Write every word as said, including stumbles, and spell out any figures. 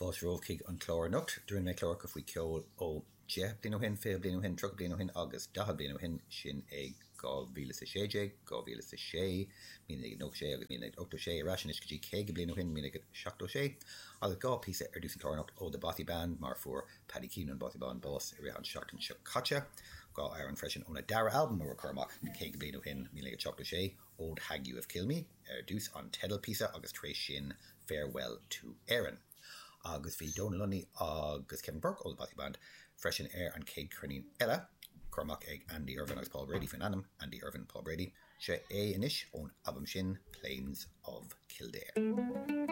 Fáilte romhaibh chuig an chlár anocht. Rinne mé cláracha faoi ceol ó deich bliain ó shin, fiche bliain ó shin, tríocha bliain ó shin agus daichead bliain ó shin sin é dhá mhíle is a sé déag, dhá mhíle is a sé, míle naoi gcéad nócha sé agus míle naoi gcéad ochtó sé ar ais anois go dtí caoga bliain ó shin, míle naoi gcéad seachtó sé, agus dhá píosa ar dtús an chlár anocht ó The Bothy Band mar fuair Paddy Keane an Bothy Band bás i rith an seachtain seo caite. Dhá amhrán freisin óna dara albam a cuireadh amach caoga bliain ó shin, míle naoi gcéad seachtó sé, Old Hag You Have Killed Me ar dtús an teideal píosa agus tar éis sin Farewell to Erin. Agus bhí Donal Lunny agus Kevin Burke ó The Bothy Band freisin ar an chéad cheirnín eile, curtha amach ag Andy Irvine agus Paul Brady faoin ainm Andy Irvine Paul Brady, sé é anois ón albam sin Plains of Kildare.